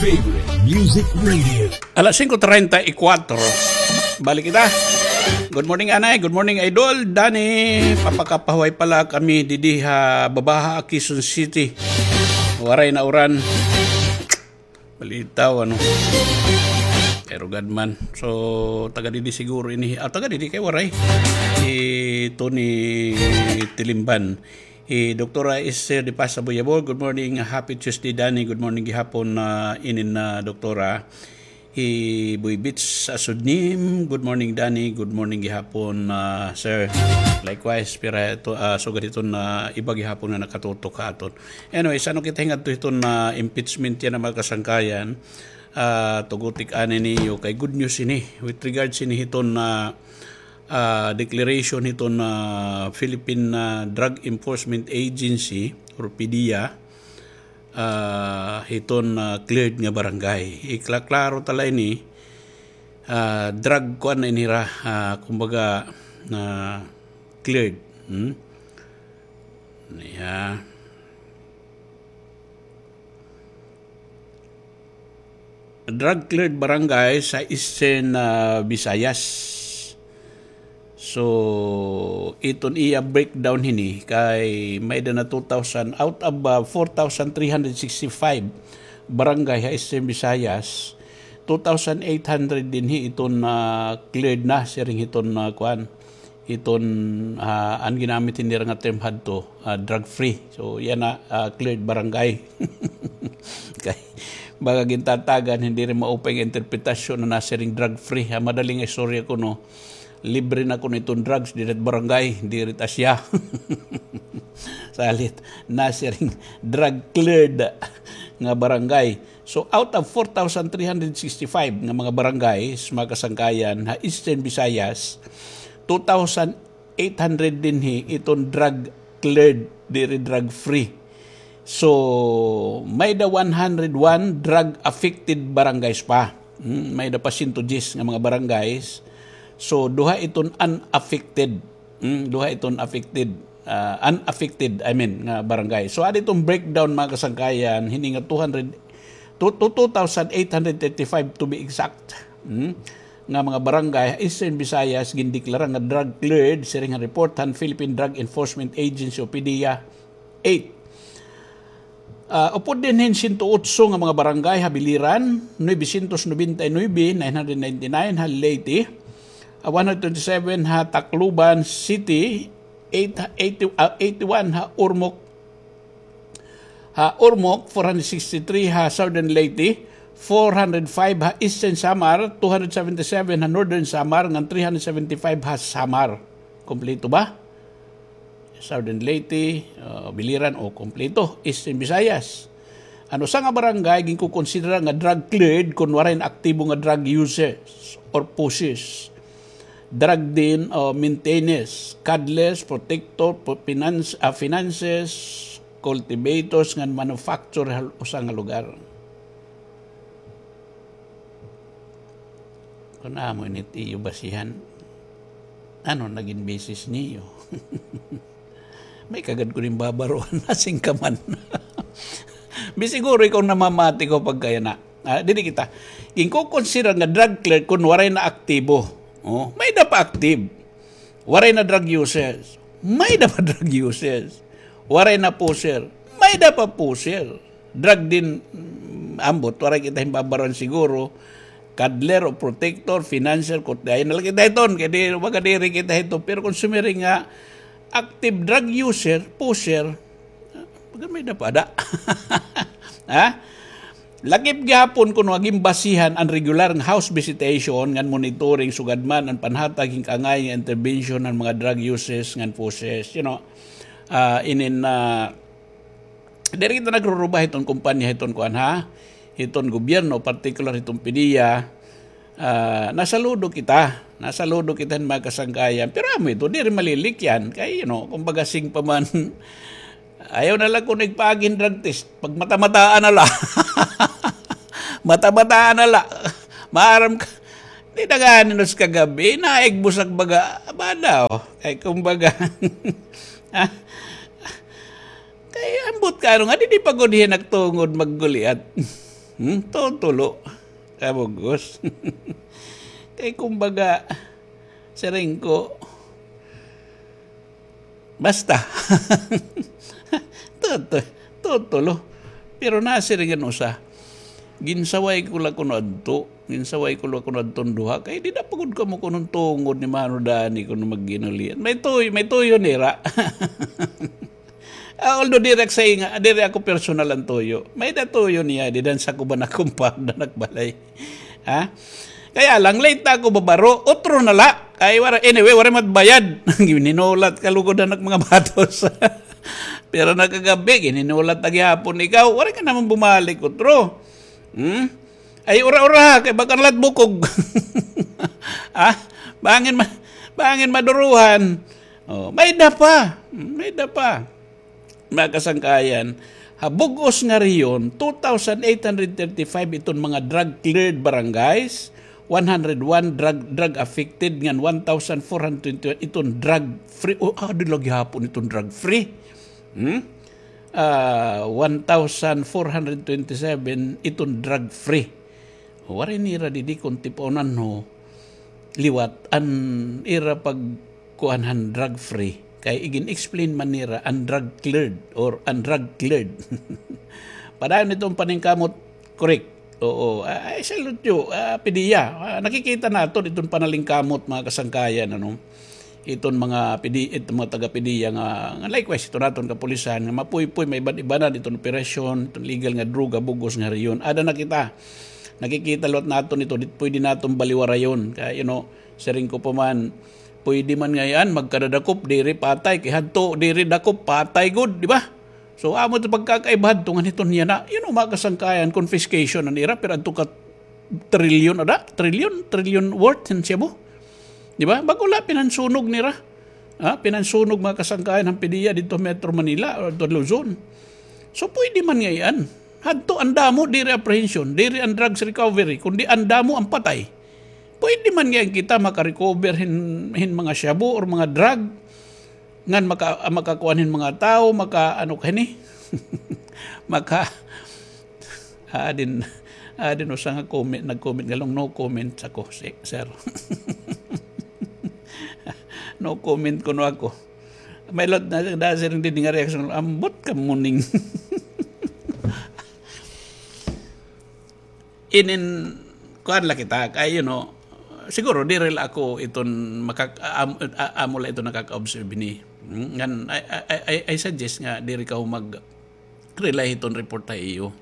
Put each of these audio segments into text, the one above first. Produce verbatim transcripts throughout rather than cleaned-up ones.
Favorite Music Radio. Alas singko treinta y cuatro. Balik kita. Good morning, Anay. Good morning, Idol. Dani, papakapahuway pala kami didi ha Babaha, Quezon City. Waray na uran. Balitaw, ano. Pero gad man. So, taga didi siguro ini. Ah, taga didi kay waray. Si Tony Tilimban. Hi Doktora Esther de Paz Aboyabol, good morning, happy Tuesday, Danny. Good morning gihapon, ah, inin, ah, Doktora. Hi Boy Beach Asudnim, good morning, Danny. Good morning gihapon, ah, sir. Likewise, pira ito, ah, sugad hiton na iba gihapon nga nakatutok ha aton. Anyway, sa ano kita hingadto hiton na impeachment yana, mga kasangkayan, ah, tugutik ani niyo kay good news ini with regards ini hiton na ah, declaration hiton, ah, Philippine, ah, Drug Enforcement Agency or PDEA, ah, hiton, ah, cleared nga barangay. Iklaklaro ta la ini, ah, drug kuan na ini hira, ah, kumbaga, ah, cleared. Hmm? Niya. Drug cleared barangay sa Eastern, ah, Visayas. So, iton iya breakdown hini kay may-ada na two thousand, out of, ah, four thousand three hundred sixty-five barangay ha Eastern Visayas, two thousand eight hundred dinhi iton, ah, cleared na siring hiton, ah, kuan, hiton, ah, an ginamit hini hira nga term hadto, ah, drug free. So, yana, ah, cleared barangay. Kay, baga gintatagan, diri maupay nga interpretasyon na nasiring drug free. Ha madali nga istorya kuno, libre na kuno iton drugs, diri it barangay, diri it Asia. Salit, nasiring drug cleared nga barangay. So, out of four thousand three hundred sixty-five nga mga barangays, mga kasangkayan, ha Eastern Visayas, two thousand eight hundred dinhi iton drug cleared, diri drug free. So, may-ada one hundred one drug affected barangays pa. Hmm, may-ada pa sento diyes nga mga barangays. So, duha iton unaffected. Hmm, duha iton affected, ah, unaffected, I mean, nga barangay. So, adi iton breakdown, mga kasangkayan, hini nga two hundred, to, to two thousand eight hundred thirty-five to be exact. Hmm? Nga mga barangay ha Eastern Visayas gindeklara nga drug cleared siring ha report han Philippine Drug Enforcement Agency o PDEA eight. Ah, upod dinhi hin sento otso nga mga barangay ha biliran, novecientos nobenta y nuebe, nine hundred ninety-nine ha Leyte, ah, one hundred twenty-seven ha Tacloban City, eight, eighty, ah, eighty-one ha Ormoc, ha Ormoc, four hundred sixty-three ha Southern Leyte, four hundred five ha Eastern Samar, two hundred seventy-seven ha Northern Samar, ngan three hundred seventy-five ha Samar. Kompleto ba? Southern Leyte, ah, Biliran, o, kompleto. Eastern Visayas. An usa nga barangay, ginkukonsidera nga drug cleared kon waray na aktibo nga drug users or pushers. Drug den o maintenance, cuddlers, protector, po-, finance, ah, finances, cultivators ngan manufacturer ha usa nga lugar. Kon amo ini it iyo basihan, ano nagin basis niyo? May kagad ko rin babaruan, nasing ka man. Bi siguro ikaw namamati ko pagkaya na. Ah, dili kita. Ginkukonsidera nga drug cleared kon waray na aktibo. Oh, may-ada pa active. Waray na drug users. May-ada pa drug users. Waray na pusher. May-ada pa pusher. Drug den, mm, ambot, waray kita hin babaruan siguro. Cuddler o protector, financier, kutyayon na la kita hiton. Kay di, baga diri kita hiton. Pero kon sumiring nga active drug user, pusher, baga may-ada pa ada. Ha? Lakip gihapon kuno nga ginbasihan an regular nga house visitation ngan monitoring sugad man an panhatag hin kaangay nga intervention han mga drug users ngan pushers. You know, ah, inin, ah, diri kita nagruruba hiton kompanya, hiton kuan, ha? Hiton gobyerno, partikular hiton PDEA. Ah, nasaludo kita. Nasaludo kita hin mga kasangkayan. Pero amo ito, diri malilikyan. Kay, you know, kumbaga sing pa man, ayaw na la kuno igpaagi hin drug test. Pagmata-mataan na la. Mata-mataan na la. Maaram ka. Di na gani nos kagabi. Naigbusag baga. Aba daw. Kay kumbaga. Ha? Kay ambot ka, ano nga, di, di pa gud hiya nagtungod magguliat. Hmm? Tutulo. Kabug-os. Kay kumbaga, siring ko, basta. Tutu-, tutulo. Pero nasiring an usa. Ginsaway ko la kuno adto. Ginsaway ko la kuno adton duha. Kay dida pa gud kamo kuno tungod ni Mano Dani kuno magginulian. May tuyo, may tuyo nira. Ah, although diri ak sa inga, diri ako personal an tuyo. May-ada tuyo niya, dida han sakoban han compound han ak balay. Ha? Kaya lang, late na ako babaro. Utro na la. Kay wara, anyway, wara man it bayad. Gininulat ka lugod han ak mga batos. Pero nakagabi, gininulat na gihapon ikaw. Wara ka naman bumalik, utro. Hmm? Ay, ura-ura, kay baka na la it bukog. Ha? Bangin ma-, bangin maduruhan. Oh, may-ada pa. Hmm, may-ada pa. Mga kasangkayan, ha bug-os nga rehiyon, two thousand eight hundred thirty-five iton mga drug-cleared barangays, one hundred one drug, drug affected, ngan one thousand four hundred twenty-one iton drug-free. O, adi la gihapon iton drug-free. Hmm? Ah, one thousand four hundred twenty-seven iton drug-free. Waray nira didi kon tip-onan ho liwat an ira pagkuan han drug-free. Kay igin-explain man nira an drug-cleared or an drug-cleared. Padayon iton paningkamot, correct. Oo, I salute you, ah, PDEA. Ah, nakikita naton iton panalingkamot, mga kasangkayan, ano. Iton mga PDEA, iton mga taga-PDEA nga, nga likewise, iton naton kapulisan, nga mapuypoy, maiban-ibanan iton operasyon, iton legal nga droga, bug-os nga rehiyon. Ada na kita. Nakikita liwat naton ito, di pwede naton baliwarayon. Kay, you know, siring ko pa man, pwede man ngay-an, magkadadakop, diri patay, kay hadto, diri dakop, patay gud, di ba? So, amo ito pagkakaiba hadto, ngan hiton yana, you know, mga kasangkayan, confiscation an ira, pero adto ka trilyon, ada? Trilyon? Trilyon worth hin shabu. Di ba? Bag-o la, pinansunog nira. Ha? Pinansunog, mga kasangkayan, han PDEA didto Metro Manila, o didto Luzon. So, pwede man ngay-an. Hadto an damo, diri apprehension, diri an drugs recovery, kundi an damo an patay. Pwede man ngay-an kita makarecover hin, hin mga shabu or mga drug, ngan maka-, makakuan hin mga tawo, maka-, ano ka hini? Maka-, adin, adin usa nga comment, nag-comment nga lang, "No comment ako, si-, sir." No comment kuno ako. May lot na, na, sir, hindi nga reaction, ambot ka muning. Inin, kuan la kita, kay, you know, siguro, diri la ako iton makak-, am-, a-, amo la iton nakaka-observe hini. Hmm? Ngan, I, I, I, I suggest nga, diri ka mag-rely hiton report ha iyo.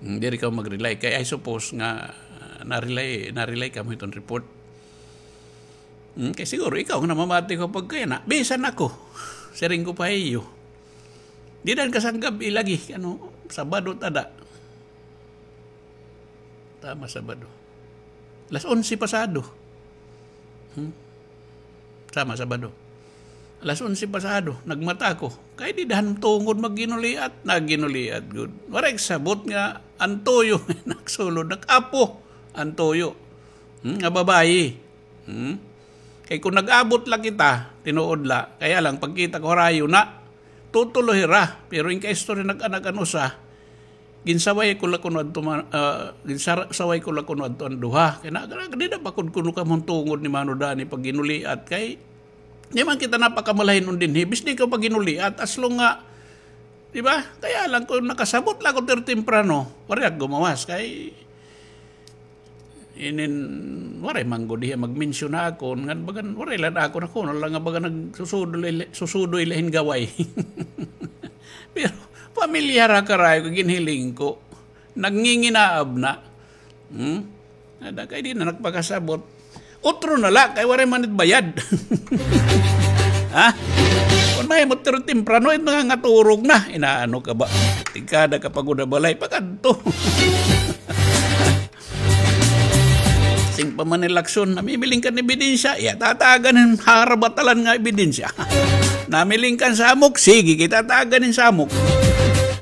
Hmm, diri ka mag-rely. Kay I suppose nga, ah, na-rely, na-rely kamo hiton report. Hmm, kay siguro, ikaw nga namamati ko pagkayana, bisan ako. Siring ko pa ha iyo. Dida han kasangkab-i lagi, ano, Sabado tada. Tama, Sabado. Alas onse pasado. Hmm? Tama, Sabado. Alas onse pasado, nagmata ako. Kay dida han tungod magginuliat, nagginuliat gud. Waray kasabot nga an tuyo, nagsulod, nag-apo an tuyo. Hmm? Nga babayi. Hmm? Kay kon nag-abot la kita, tinuod la, kaya lang pagkita ko harayo na, tutulo hira, pero in kaistorya nag-anak an usa, ginsaway ko la kuno adto ma-, ah, ginsar-, saway ko la kuno adto an duha. Kay na, na, dida pa kud kuno kamo han tungod ni Mano Dani pagginuliat, kay di man kita napakamalahinon dinhi, bis di ka pagginuliat, as long nga, di ba? Kaya lang, kon nakasabot la ako diri temprano, waray ak gumawas, kay inin, waray man gud hiya magmensyon ha akon, ngan bagan, waray la ako, na kuno la nga bagan nagsusudoy la, susudoy la hin gaway. Pero, pamilyar ha karayo, kay ginhiling ko. Nagnginginaab na. Hmm? Ada kay di na nagpakasabot. Utro na la, kay waray man it bayad. Ha? Kon mahimo diri temprano, it nangangaturog na. Inaano ka ba? Tikada ka pa gud ha balay, pakadto. Sing pa man ni Lacson, namimiling kan ebidensya, iya tatagan hin harabatalan nga ebidensya. Namiling kan samok, sige, kita tatagan hin samok.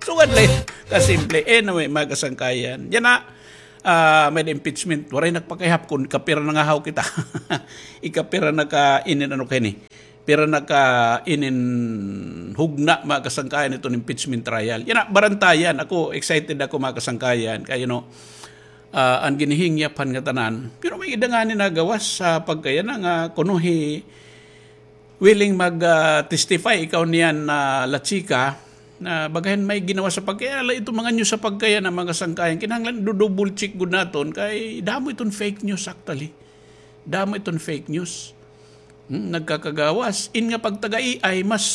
Sugad la, kasimple. Anyway, mga kasangkayan. Yana, ah, may impeachment. Waray nagpakayhap kon ikapira na nga haw kita. Ikapira na ka inin ano kay ni. pira na ka inin hugna, mga kasangkayan, iton impeachment trial. Yana, barantayan. Ako, excited ako, mga kasangkayan. Kay, you know, ah, an ginihingyap han ngatanan. Pero may-ada ngani nagawas ha pagkayana nga kuno hi willing mag, ah, testify ikaw niyan na La Chica, na bagahin may ginawas ha pagkayana, iton mga news ha pagkayana, mga kasangkayan. Kinahanglan ido-double check gud naton kay damo iton fake news actually. Damo iton fake news. Hmm, nagkakagawas. In nga pagtaga-A I, mas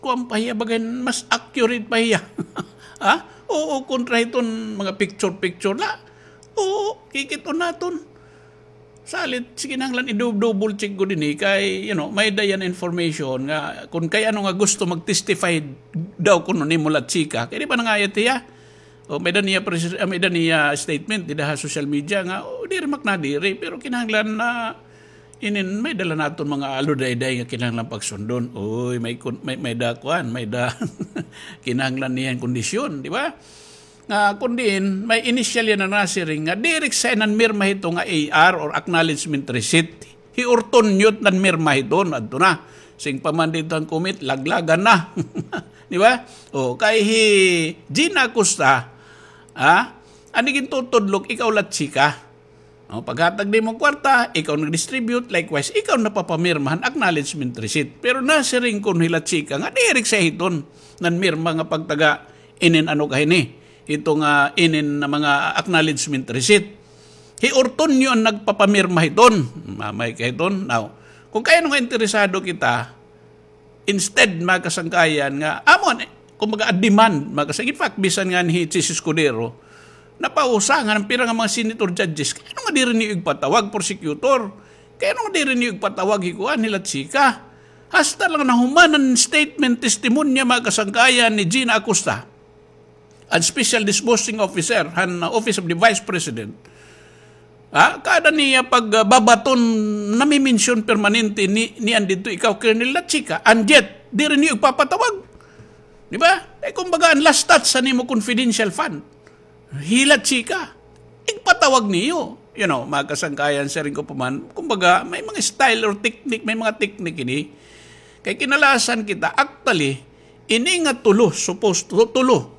kuan pa hiya, bagahin mas accurate pa hiya. Ha? Oo, kontra hiton mga picture-picture la. Oo, kikit-on naton. Salit, sige, kinahanglan i-dou-, double check gud ini kay, you know, may-ada yana information nga kun kay ano nga gusto mag-testify daw kuno nimo La Chica. Kay di ba nangayat hiya? O, may-ada niya pres-, ah, may-ada niya statement dida ha social media nga, o, diri man ak nadiri, pero kinahanglan na inin may-ada la naton mga aludayday nga kinahanglan pagsundon. Uy, may kun-, may, may-ada kuan, may-ada kinahanglan niya hin kondisyon, di ba? Nga kun diin, may initial yana nasiring nga diri siya nanmirma hito nga A R or acknowledgement receipt. Hi Ortonio it nanmirma hiton, adto na. Sing pa man didto an comment, laglagan na. Di ba? O, kay hi Gina Acosta, ha? An igintutudlok, ikaw La Chica. O, paghatag nimo kwarta, ikaw nag-distribute, likewise, ikaw napapamirma han acknowledgement receipt. Pero nasiring kuno hi La Chica nga diri siya hiton nanmirma nga pagtaga inin ano kahini, hito nga inin na mga acknowledgement receipt. Hi Ortonio an nagpapamirma hiton. Mamay ka hiton. Now, kun kay ano nga interesado kita, instead, mga kasangkayan, nga, amo, kumbaga, a demand, mga kasangkayan. In fact, bisan nga hi Chiz Escudero, napausa nga an pira nga mga senator judges, kay ano nga diri niyo igpatawag, prosecutor? Kay ano nga diri niyo igpatawag hi kuan, hi La Chica? Hasta la nga nahuman an statement, testimonya, mga kasangkayan, ni Gina Acosta, an special disbursing officer han, uh, Office of the Vice President. Ha? Kada niya pag, uh, babaton, nami-mention permanente ni, niyan didto, ikaw, Colonel La Chica, and yet, diri niyo igpapatawag. Di ba? Eh, kumbaga, an last touch han imo confidential fund, hi La Chica, igpatawag niyo. You know, mga kasangkayan, siring ko pa man, kumbaga, may mga style or technique, may mga technique ini. Kay kinalasan kita, actually, ini nga tulo, supposed to, tulo.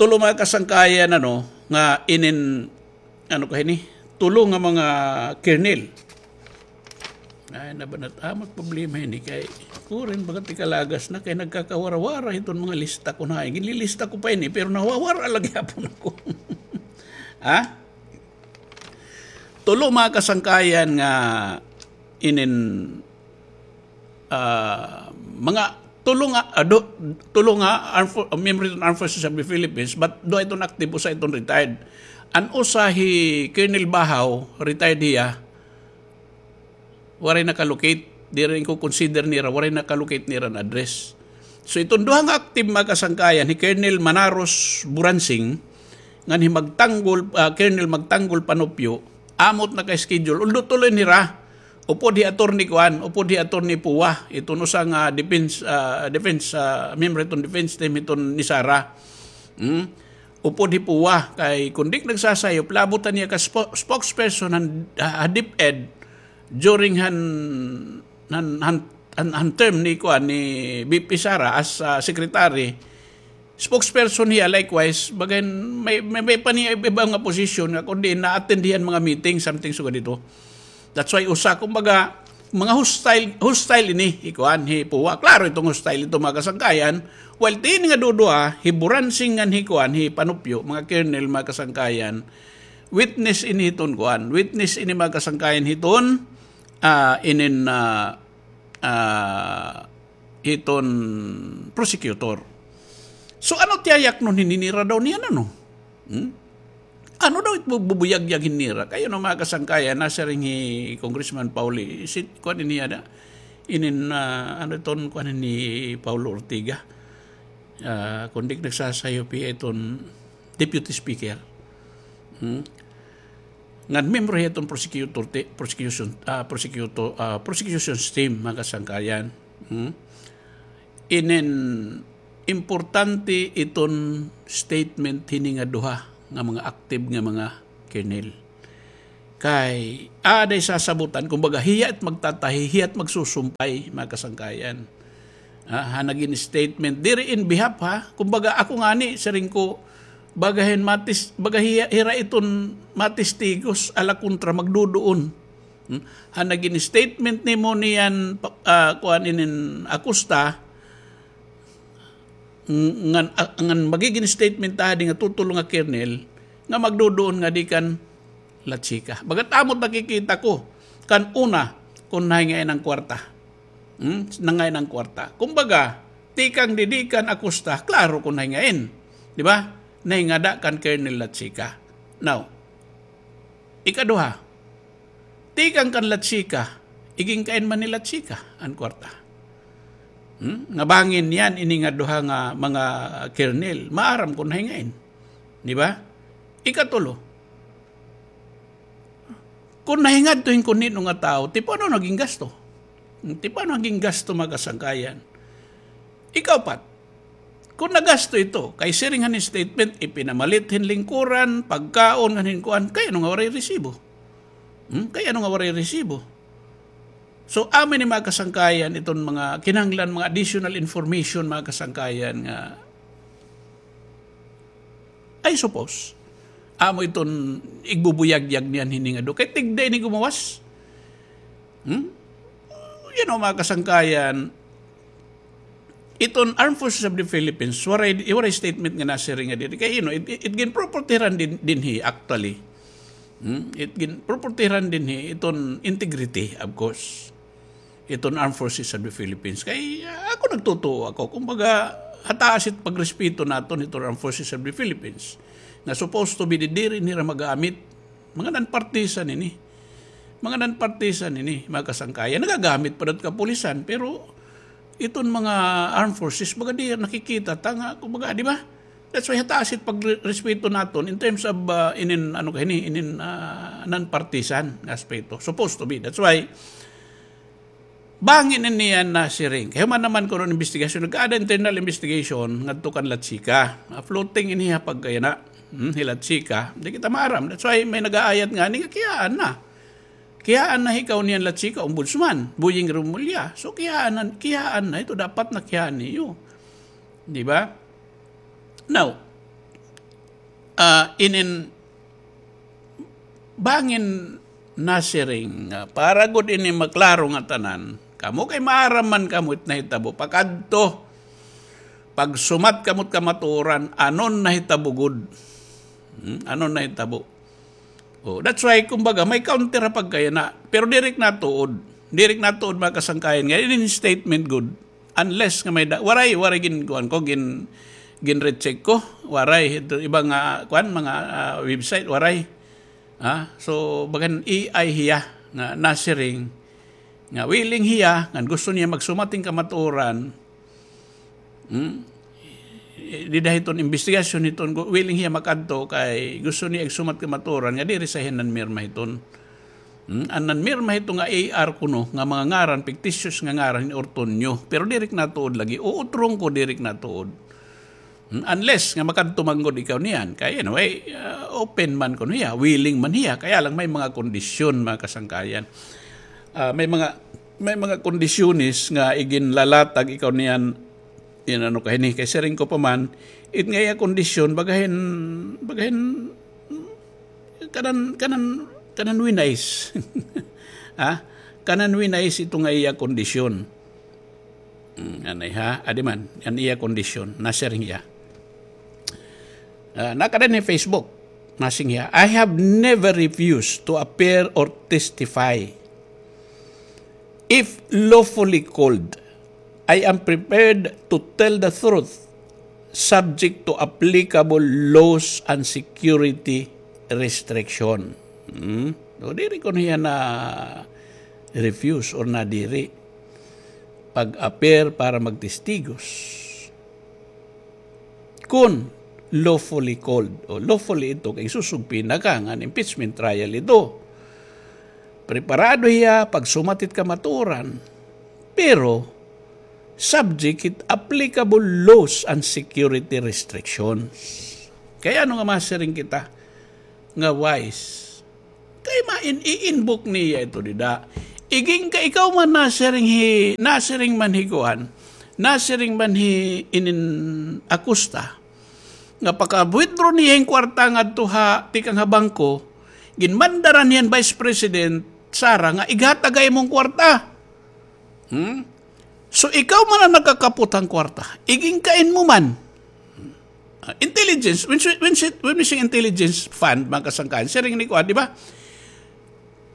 Tulo, mga kasangkayan, ano, nga inin, ano kahini, tulo nga mga kernel. Ay, nabanat, amat problema ini kay kurin baga tikalagas na kay nagkakawara-wara hiton mga lista ko na. Ginlilista ko pa ini, pero nawawara lagi hapon ako. Ha? Tulo, mga kasangkayan, nga inin, ah, mga tulo nga, ah, du-, tulo nga armed fo-, member hiton Armed Forces of the Philippines, but duha iton active, usa iton retired. An usa hi Colonel Bahaw, retired hiya, waray naka-locate. Diri ko consider nira, waray naka-locate nira an address. So, iton duha nga active, mga kasangkayan, hi Colonel Manaros Buransing, ngan hi Magtanggol, ah, Colonel Magtanggol Panupyo, amot naka-schedule. Although tuloy nira, upod hi Attorney kuan, upod hi Attorney Pua, iton usa nga defense, ah, defense, ah, member iton defense team iton ni Sara. Hmm? Upod hi Pua, kay kun di ak nagsasayop, labot niya ka spo-, spokesperson han, ha, ha DepEd during han, han, han, han, han term ni kuan, ni V P Sara as, ah, secretary. Spokesperson hiya, likewise, bagay may, may, may pa niya iba nga posisyon nga kun diin na-attend hiya han mga meeting, something sugad ito. That's why usa, kumbaga, mga hostile, hostile ini, hi kuan, hi Pua. Klaro iton hostile ito, mga kasangkayan. While tin nga duduha, hi Buransing ngan hi kuan, hi Panupyo, mga colonel, mga kasangkayan. Witness ini hiton kuan. Witness ini, mga kasangkayan, hiton, ah, inin, ah, ah, hiton prosecutor. So, ano it yayaknon hini nira daw niyan, ano? Hmm? Ano daw it bu-, bubuyagyag hini nira? Kay ano, mga kasangkayan, nasiring hi Congressman Pauli, si, kuan ini ada? Inin, ah, ano iton, kuan ini Paulo Ortiga? Ah, kun di ak nagsasayop, hiya iton Deputy Speaker. Hmm? Ngan miyembro hiya iton prosecutor te-, prosecution, ah, prosecutor, ah, prosecution team, mga kasangkayan. Hmm? Inin importante iton statement hini nga duha nga mga active nga mga colonel. Kay, aada sasabutan, kumbaga, hiya it magtatahi, hiya it magsusumpay, mga kasangkayan. Ah, ha nagin statement, diri in behalf, ha? Kumbaga, ako ngani, siring ko, baga hin matis-, baga hiya, hira iton matistigos, ala kontra, magduduon. Hmm? Ha nagin statement nimo niyan, pa-, ah, kuan inin Acosta, ng-, ngan, ah, ngan magigin statement ta hadi nga tutulo nga kernel, nga magduduon ngadi kan Lachica. Bagat amo it nakikita ko, kan una, kon nahingain an kwarta. Hmm? Nangain an kwarta. Kumbaga, tikang didi kan Acosta, klaro kon nahingain. Di ba? Nahingada kan Colonel Lachica. Now, ikaduha, tikang kan Lachica, iginkain man ni Lachica an kwarta. Hmm? Nga bangin niyan, ini nga duha nga mga kernel, maaram kon nahingain. Di ba? Ikatulo, kon nahingadto hin kon hin-o nga tawo, ti paano nagin gasto? Hmm, ti paano nagin gasto, mga kasangkayan? Ikaupat, kon nagasto ito, kay siring han statement, ipinamalit hin lingkuran, pagkaon, ngan hin kuan, kay ano nga waray resibo? Hmm? Kay ano nga waray resibo? So, amo ini, mga kasangkayan, iton mga kinahanglan, mga additional information, mga kasangkayan, nga, I suppose, amo iton igbubuyagyag niyan hini nga do. Kay tigda ini gumawas. Hmm? You know, mga kasangkayan, iton Armed Forces of the Philippines, waray, waray statement nga nasiring nga diri. Kay, you know, it, it, it ginproportiran din, dinhi, actually. Hmm? It ginproportiran dinhi, iton integrity, of course. Iton Armed Forces of the Philippines. Kay, ah, ako nagtutuo ako. Kumbaga, hataas it pagrespeto naton iton Armed Forces of the Philippines. Nga supposed to be didiri nira magamit. Mga non-partisan ini. Mga non-partisan ini, mga kasangkayan. Nagagamit pa dat kapulisan, pero iton mga armed forces, baga di nakikita ta nga, kumbaga, di ba? That's why hataas it pagrespeto naton in terms of, ah, inin, ano ka ini, inin, ah, non-partisan nga aspeto. Supposed to be. That's why, bangin ini an nasiring. Kay human naman kuno an investigasyon, nagkaada internal investigation ngadto kan Lachica. Ah, floating ini ha pagkayana. Hmm, hi Lachica. Di kita maaram. That's why may nag-aayat ngani nga kiyaan na. Kiyaan na hi kauniyan Lachica, Ombudsman, Boying Remulla. So, kiyaan na, kiyaan na ito. Dapat na kiyaan niyo. Di ba? Now, ah, inin bangin nasiring nga para gud ini maklaro nga tanan, kamo kay maaram man kamo it nahitabo, pakadto, pagsumat kamo it kamatuoran, anon nahitabo gud. Hmm? Anon nahitabo. Oh, that's why, kumbaga, may counter ha pagkayana. Pero diri ko natuod. Diri ko natuod, mga kasangkayan, nga inin statement gud. Unless nga may da-, waray, waray gin-, kuan ko, gin-, gin-recheck ko. Waray, ito, iba nga, kuan, mga, ah, website, waray. Ah, so, bagan A I hiya nga nasiring, nga willing hiya, nga gusto niya magsumat hin kamatuoran. Hmm? Dida hiton investigasyon hiton, gu-, willing hiya makadto kay gusto niya igsumat kamatuoran nga diri sa hiya nanmirma hiton. Hmm? An nanmirma hito nga A R kuno, nga mga ngaran, fictitious nga ngaran, hin Ortonio. Pero diri ko natuod lagi. Uutrong ko, diri ko natuod. Hmm? Unless nga makadto man gud ikaw niyan. Kay anyway, ah, open man kuno hiya, willing man hiya. Kaya lang may mga kondisyon, mga kasangkayan. Ah, may mga, may mga kondisyones nga iginlalatag ikaw niyan, inano ka hini, kay siring ko pa man, it nga iya kondisyon, bagahin, bagahin, kanan, kanan, kanan winais. Ha? Kanan winais ito nga iya kondisyon. Hmm, anay ha? Adi man, an iya kondisyon, nasiring hiya. Ah, nakada ni Facebook, nasiring hiya, "I have never refused to appear or testify. If lawfully called, I am prepared to tell the truth, subject to applicable laws and security restriction." Hmm? So, diri kuno hiya na-refuse or nadiri pag-appear para magtestigos. Kun lawfully called, o lawfully ito kay susugpina ka ngan impeachment trial ito. Preparado hiya pagsumat hit kamatuoran, pero subject hit applicable laws and security restrictions. Kay ano nga masiring kita nga wise? Main, i-invoke niya ito dida. Igin ka ikaw man nasiring hi, nasiring man hi kuan, nasiring man hi inin Acosta, nga paka-withdraw niya hin kwarta ngadto ha, tikang ha bangko, ginmandaran niya hin Vice President Sara nga ighatag ha imo hin kwarta. Hmm? So, ikaw man an nakakapot han kwarta. Igin kain mo man. Ah, intelligence, when, si- when, si- when we say intelligence fund, mga kasangkayan, siring ni kuan, di ba?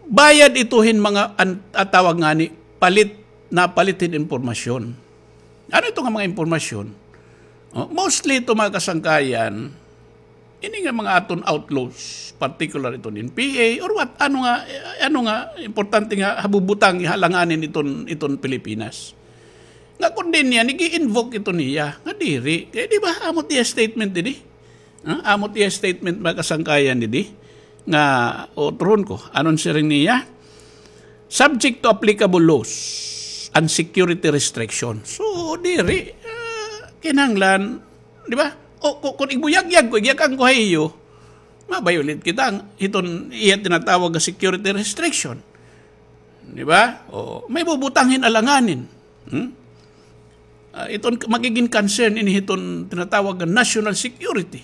Bayad ito hin mga an- ah, tawag ngani, palit, napalit hin impormasyon. Ano ito nga mga impormasyon? Oh, mostly ito, mga kasangkayan, ini nga mga aton outlaws, particular iton N P A or what, ano nga, ano nga importante nga habubutang, ihalanganin iton, iton Pilipinas. Nga kun diin niya, nag-i-invoke ito niya, nga diri. Kay di ba, amo it iya statement didi? Ha? Amo it iya statement, mga kasangkayan, didi? Nga, o, turon ko, ano an siring niya? Subject to applicable laws and security restrictions. So, diri, ah, kinahanglan, di ba? O, ku- kun igbuyagyag ko, igyakan ko ha iyo, ma-violate kita hiton iya tinatawag nga security restriction. Di ba? O, may bubutang hin alanganin. Hmm? Ah, iton magigin concern ini hiton tinatawag nga national security.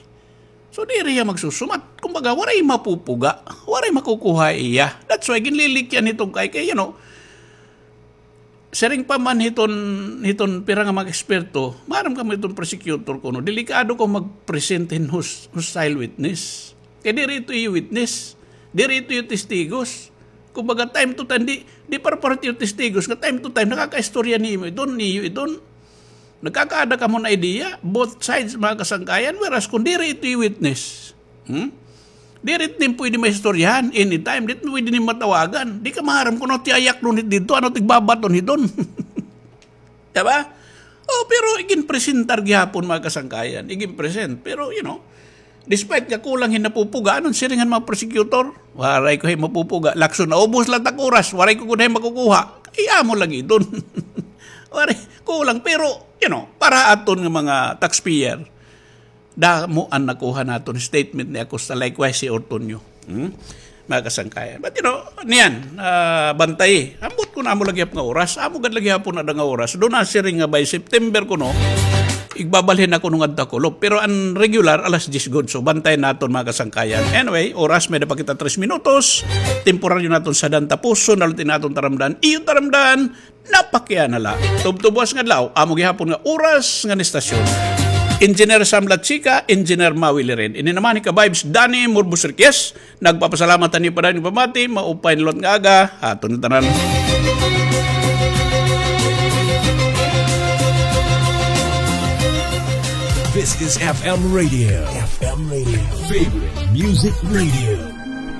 So, diri hiya magsusumat. Kumbaga, waray mapupuga, waray makukuha iya. That's why ginlilikyan hiton kay, kay, you know, siring pa man hiton, hiton pira nga mga eksperto, maaram kamo hiton prosecutor kuno, delikado ka mag-present hin hos- hostile witness. Kay diri ito iyo witness, diri ito iyo testigos. Kumbaga, time to time, di, di para-para ito iyo testigos, nga time to time, nakakaistorya nimo iton, niyo iton. Nagkakaada kamo hin idea, both sides, mga kasangkayan, whereas kung diri ito iyo witness, hmm? Diri ito nim pwede maistoryahan, anytime, di pwede nim matawagan. Di ka maaram kun ano it iya ayaknon hit didto, ano it igbabaton hiton. Di ba? O, pero igin-presentar gihapon, mga kasangkayan, igin-present. Pero, you know, despite nga kulang hin napupuga, ano an siring han mga prosecutor? Waray ko hay mapupuga. Lakson, naubos la it ak oras, waray ko gud hay makukuha. Ay, amo lagi iton. Waray, kulang. Pero, you know, para aton nga mga taxpayer, damo an nakuha naton statement ni Acosta, likewise si Ortonio. Hmm? Mga kasangkayan. But, you know, niyan, ah, bantay. Ambot kuno amo la gihap nga oras. Amo gad la gihapon ada nga oras. Duna siring nga by September kuno, igbabalhin na kuno ngadto ha kulop. Pero an regular, alas diyes gud. So, bantay naton, mga kasangkayan. Anyway, oras, may-ada pa kita tres minutos. Temporaryo naton sadan tapuson, nalot ini aton taramdan. Iyo taramdan, napakiana la. Tubtob buwas nga adlaw, amo gihapon nga oras ngan istasyon. Engineer Sam Lachica, Engineer Maui Liren. Ini naman hi ka-vibes Danny Murbos Riquez. Nagpapasalamat han iyo padayon nga pamati, maupay nga liwat nga aga ha aton ngatanan. This is F M Radio. F M Radio. Favorite Music Radio.